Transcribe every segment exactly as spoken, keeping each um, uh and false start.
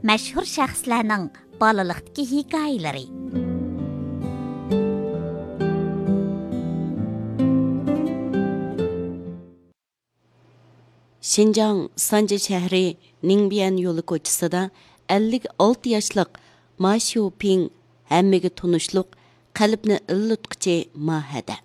مەشھۇر شەخسلەرنىڭ بالىلىقتىكى ھېكايىلىرى. شىنجاڭ سانجى شەھىرى نىڭبيەن يولى كوچىسىدا ئەللىك ئالتە ياشلىق ما شيۇپىڭ ھەممىگە تونۇشلۇق، قەلبنى ئىللىتقۇچى ما ھەدە.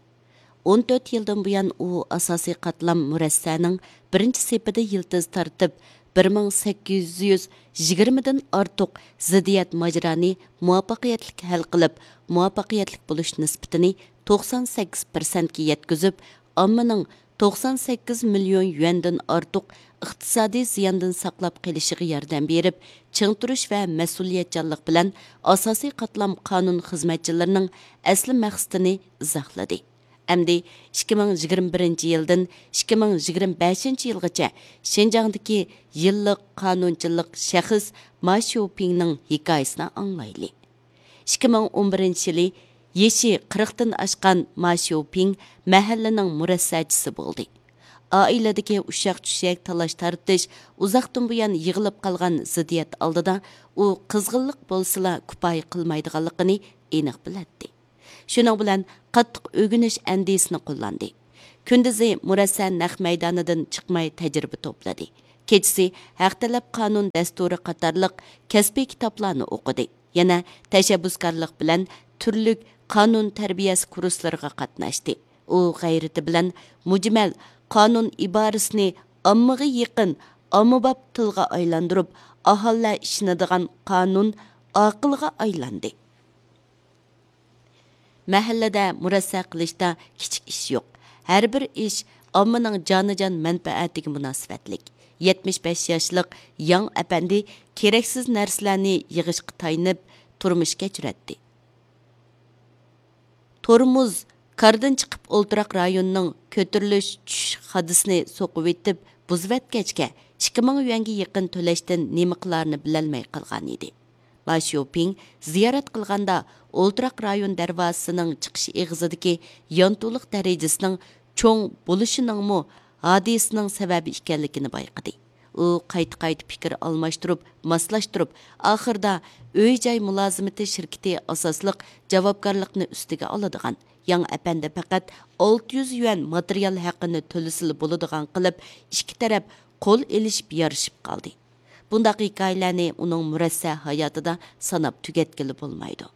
ئون تۆت يىلدىن بۇيان ئۇ ئاساسىي قاتلام مۇرەسسەنىڭ بىرىنچى سېپىدە يىلتىز تارتىپ، بىر مىڭ سەككىز يۈز يىگىرمىدىن ئارتۇق زىددىيەت ماجىرانى مۇۋەپپەقىيەتلىك ھەل قىلىپ، مۇۋەپپەقىيەتلىك بولۇش نىسبىتىنى توقسان سەككىز پىرسەنتكە يەتكۈزۈپ، ئاممىنىڭ توقسان سەككىز مىليون يۈەندىن ئارتۇق ئىقتىسادىي زىياندىن ساقلاپ قېلىشىغا ياردەم بېرىپ، چىڭ تۇرۇش ۋە مەسئۇلىيەتچانلىق بىلەن ئاساسىي قاتلام قانۇن خىزمەتچىلىرىنىڭ ئەسلى مەقسىتىنى ئىزاھلىدى. ئەمدى ئىككى مىڭ يىگىرمە بىرىنچى يىلدىن ئىككى مىڭ يىگىرمە بەشىنچى يىلغىچە شىنجاڭدىكى يىللىق قانۇنچىلىق شەخس ما شيۇپىڭنىڭ ھېكايىسىنى ئاڭلايلى. ئىككى مىڭ ئون بىرىنچى يىلى يېشى قىرىقتىن ئاشقان ما شيۇپىڭ مەھەللىنىڭ مۇرەسسەچىسى بولدى. ئائىلىدىكى ئۇششاق-چۈششەك، تالاش-تارتىش، ئۇزاقتىن بۇيان يىغىلىپ قالغان زىددىيەت ئالدىدا ئۇ قىزغىنلىق بولسىلا كۇپايە قىلمايدىغانلىقىنى ئېنىق بىلەتتى. شۇنىڭ بىلەن قاتتىق ئۆگىنىش ئەندىزىسىنى قوللاندى. كۈندۈزى مۇرەسسە نەق مەيدانىدىن چىقماي تەجرىبە توپلىدى. كېچىسى ھەق تەلەپ قانۇن دەستۇرى قاتارلىق كەسپىي كىتابلارنى ئوقۇدى. يەنە تەشەببۇسكارلىق بىلەن تۈرلۈك قانۇن تەربىيەسى كۇرسلىرىغا قاتناشتى. ئۇ غەيرىتى بىلەن مۇجمەل قانۇن ئىبارىسىنى ئاممىغا يېقىن، ئاممىباب تىلغا ئايلاندۇرۇپ، ئاھالىلەر ئىشىنىدىغان قانۇن ئاقىلغا ئايلاندى. مەھەللىدە مۇرەسسە قىلىشتا كىچىك ئىش يوق. ھەر بىر ئىش ئاممىنىڭ جانىجان مەنپەئەتىگە مۇناسىۋەتلىك. يەتمىش بەش ياشلىق ياڭ ئەپەندى كېرەكسىز نەرسىلەرنى يىغىشقا تايىنىپ تۇرمۇش كەچۈرەتتى. تورمۇز كاردىن چىقىپ ئولتۇراق رايوننىڭ كۆتۈرۈلۈش چۈشۈش خادىسىنى سوقۇۋېتىپ بۇزۇۋەتكەچكە، ئىككى مىڭ يۈەنگە يېقىن تۆلەشتىن نېمە قىلارىنى بىلەلمەي قالغانىدى. ما شيۇپىڭ زىيارەت قىلغاندا ئولتۇراق رايون دەرۋازىسىنىڭ چىقىش ئېغىزىدىكى يانتۇلۇق دەرىجىسىنىڭ چوڭ بولۇشىنىڭمۇ ھادىسىنىڭ سەۋەبى ئىكەنلىكىنى بايقىدى. ئۇ قايتا-قايتا پىكىر ئالماشتۇرۇپ، ماسلاشتۇرۇپ، ئاخىرىدا ئۆي-جاي مۇلازىمىتى شىركىتى ئاساسلىق جاۋابكارلىقنى ئۈستىگە ئالىدىغان ياڭ ئەپەندى پەقەت ئالتە يۈز يۈەن ماتېرىيال ھەققىنى تۆلىسىلا بولىدىغان قىلىپ، ئىككى تەرەپ قول ئېلىشىپ يارىشىپ قالدى. بۇنداق ھېكايىلەرنى ئۇنىڭ مۇرەسسە ھاياتىدا ساناپ تۈگەتكىلى بولمايدۇ.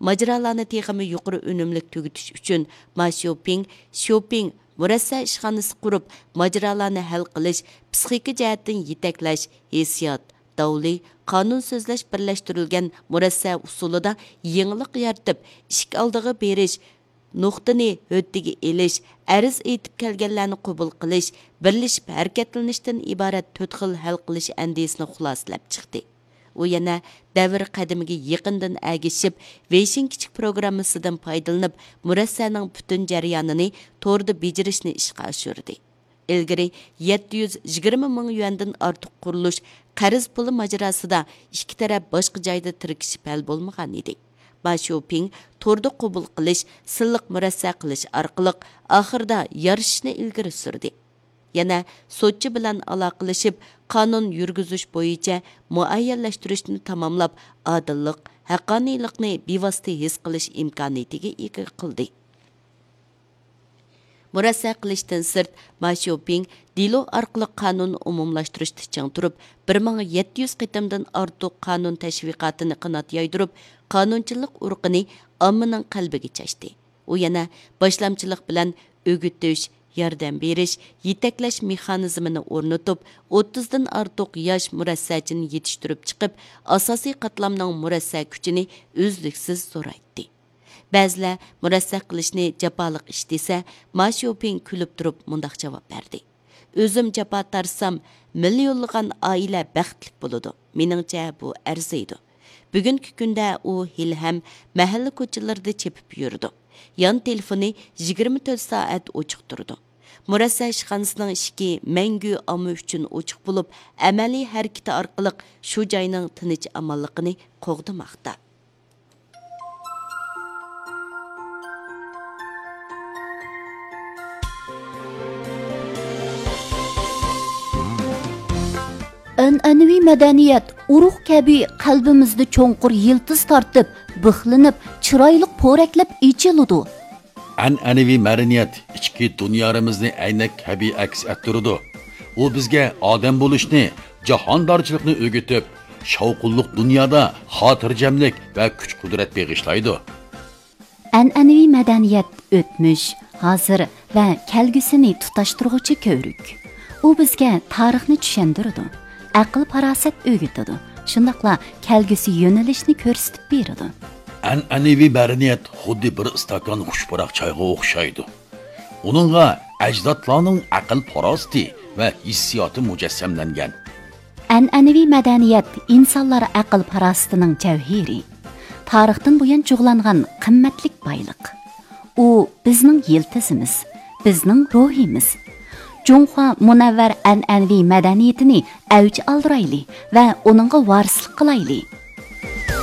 ماجىرالارنى تېخىمۇ يۇقىرى ئۈنۈملۈك تۈگىتىش ئۈچۈن ما شيۇپىڭ، شيۇپىڭ مۇرەسسە ئىشخانىسى قۇرۇپ، ماجىرالارنى ھەل قىلىش، پسىخىكا جەھەتتىن يېتەكلەش، ھېسسىيات، داۋلى، قانۇن سۆزلەش بىرلەشتۈرۈلگەن مۇرەسسە ئۇسۇلىدا يېڭىلىق يارىتىپ، ئىشىك ئالدىغا بېرىش، نۇقتىنى ھۆددىگە ئېلىش، ئەرز ئېيتىپ كەلگەنلەرنى قوبۇل قىلىش، بىرلىشىپ ھەرىكەتلىنىشتىن ئىبارەت تۆت خىل ھەل قىلىش ئەندىزىسىنى خۇلاسىلەپ چىقتى. ئۇ يەنە دەۋر قەدىمىگە يېقىندىن ئەگىشىپ، ۋېيشىن كىچىك پروگراممىسىدىن پايدىلىنىپ، مۇرەسسەنىڭ پۈتۈن جەريانىنى توردا بېجىرىشنى ئىشقا ئاشۇردى. ئىلگىرى يەتتە يۈز يىگىرمە مىڭ يۈەندىن ئارتۇق قۇرۇلۇش قەرز پۇلى ماجىراسىدا ئىككى تەرەپ باشقا جايدا تىركىشىپ ھەل بولمىغان ئىدى. ما شيۇپىڭ توردا قوبۇل قىلىش، سىنلىق مۇرەسسە قىلىش ئارقىلىق ئاخىرىدا يارىشىشنى ئىلگىرى سۈردى. يەنە سوتچى بىلەن ئالاقىلىشىپ، قانۇن يۈرگۈزۈش بويىچە مۇئەييەنلەشتۈرۈشنى تاماملاپ، ئادىللىق، ھەققانىيلىقنى بىۋاسىتە ھېس قىلىش ئىمكانىيىتىگە ئىگە قىلدى. مۇرەسسە قىلىشتىن سىرت، ما شيۇپىڭ دېلو ئارقىلىق قانۇن ئومۇملاشتۇرۇشتا چىڭ تۇرۇپ، بىر مىڭ يەتتە يۈز قېتىمدىن ئارتۇق قانۇن تەشۋىقاتىنى قانات يايدۇرۇپ، قانۇنچىلىق ئۇرۇقىنى ئاممىنىڭ قەلبىگە چاچتى. ئۇ يەنە باشلامچىلىق بىلەن ئۆگىتىش، ياردەم بېرىش، يېتەكلەش مېخانىزمىنى ئورنىتىپ، ئوتتۇزدىن ئارتۇق ياش مۇرەسسەچىنى يېتىشتۈرۈپ چىقىپ، ئاساسىي قاتلامنىڭ مۇرەسسە كۈچىنى ئۈزلۈكسىز زورايتتى. بەزىلەر مۇرەسسە قىلىشنى جاپالىق ئىش دېسە، ما شيۇپىڭ كۈلۈپ تۇرۇپ مۇنداق جاۋاب بەردى: «ئۆزۈم جاپا تارتسام، مىليونلىغان ئائىلە بەختلىك بولىدۇ. مېنىڭچە، بۇ ئەرزىيدۇ.» بۈگۈنكى كۈندە ئۇ ھېلىھەم مەھەللە كوچىلىرىدا چېپىپ يۈرىدۇ. يان تېلېفونى يىگىرمە تۆت سائەت ئوچۇق تۇرىدۇ. مۇرەسسە ئىشخانىسىنىڭ ئىشىكى مەڭگۈ ئامما ئۈچۈن ئوچۇق بولۇپ، ئەمەلىي ھەرىكىتى ئارقىلىق شۇ جاينىڭ تىنچ-ئامانلىقىنى قوغدىماقتا. ئەنئەنىۋى مەدەنىيەت ئۇرۇق كەبى قەلبىمىزدە چوڭقۇر يىلتىز تارتىپ، بىخلىنىپ، چىرايلىق پورەكلەپ ئېچىلىدۇ. ئەنئەنىۋى مەدەنىيەت ئىچكى دۇنيارىمىزنى ئەينەك كەبى ئەكس ئەتتۈرىدۇ. ئۇ بىزگە ئادەم بولۇشنى، جاھاندارچىلىقنى ئۆگىتىپ، شاۋقۇنلۇق دۇنيادا خاتىرجەملىك ۋە كۈچ-قۇدرەت بېغىشلايدۇ. ئەنئەنىۋى مەدەنىيەت ئۆتمۈش، ھازىر ۋە كەلگۈسىنى تۇتاشتۇرغۇچى كۆۋرۈك. ئۇ بىزگە تارىخنى چۈشەندۈرىدۇ، ئەقىل-پاراسەت ئۆگىتىدۇ، شۇنداقلا كەلگۈسى يۆنىلىشنى كۆرسىتىپ بېرىدۇ. ئەنئەنىۋى مەدەنىيەت خۇددى بىر ئىستاكان خۇش پۇراق چايغا ئوخشايدۇ. ئۇنىڭغا ئەجدادلارنىڭ ئەقىل-پاراسىتى ۋە ھېسسىياتى مۇجەسسەملەنگەن. ئەنئەنىۋى مەدەنىيەت ئىنسانلار ئەقىل-پاراسىتىنىڭ جەۋھىرى، تارىختىن بۇيان جۇغلانغان قىممەتلىك بايلىق. ئۇ بىزنىڭ يىلتىزىمىز، بىزنىڭ روھىمىز. جۇڭخۇا مۇنەۋۋەر ئەنئەنىۋى مەدەنىيىتىنى ئەۋج ئالدۇرايلى ۋە ئۇنىڭغا ۋارىسلىق قىلايلى.